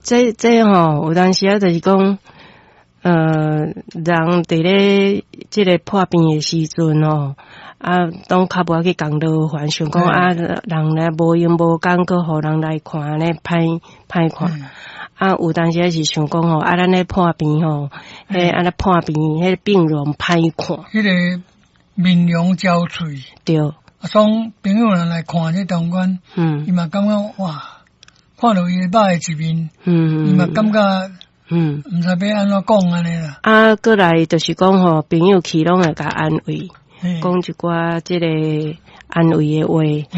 這吼，有當時啊，就是講，人佇咧這个破病的時陣吼，啊，攏較無愛去共勞煩，想講啊，人來無閒無工，閣予人來看，按呢歹歹看。啊，有當時啊是想講吼，啊，咱咧破病吼，彼按呢破病，彼個病容歹看。彼个面容憔悴。對。啊，所朋友人來看這中間，伊嘛感覺哇，看著伊歹的一面，伊嘛感覺，毋知欲按怎講按呢啦。啊，閣來就是講吼，朋友去攏會共安慰，講一寡這個安慰的話，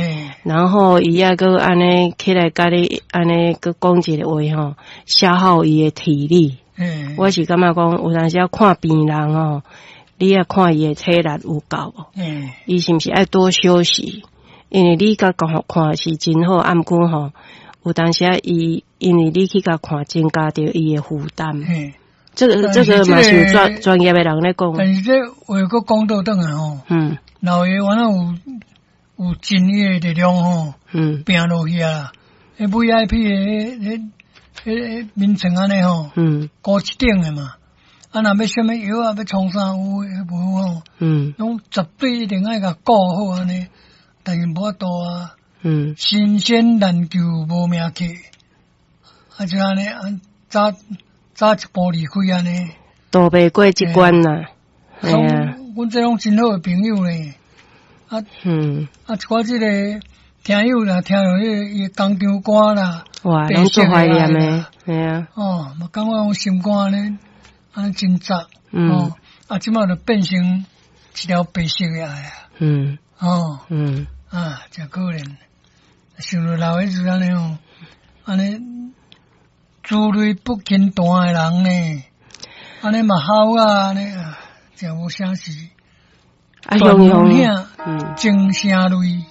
然後伊猶閣按呢起來共你按呢閣講一個話吼，消耗伊的體力。我是感覺講，有當時仔看病人吼，你愛看伊的體力有夠無？伊是毋是愛多休息？因為你共看看是真好，啊毋過吼，有當時仔伊因為你去共看，增加著伊的負擔。這個嘛是有專專業的人咧講。但是這話閣講倒轉來吼，老爺原來有真的力量吼，拼落去啊！彼 VIP 的彼彼彼眠床按呢吼，高一等的嘛。啊，若欲啥物藥啊，欲創啥有無吼？攏絕對一定愛共顧好按呢，但是無法度啊。神仙難求無命客，啊就按呢，早早一步離開按呢。渡袂過這關啦。嘿啊。阮這攏真好的朋友呢。啊，啊，一寡這个聽友啦，聽著彼个伊工廠歌啦，哇，攏足懷念的，嘿啊。哦，嘛感覺講心肝呢，按呢真紮，哦，啊，這擺就變成一條白色的愛啊。哦，啊，誠可憐。想著老的時按呢吼，按呢珠淚不輕彈的人呢，按呢嘛好啊，按呢啊，誠無啥事。啊，雄雄，情聲淚。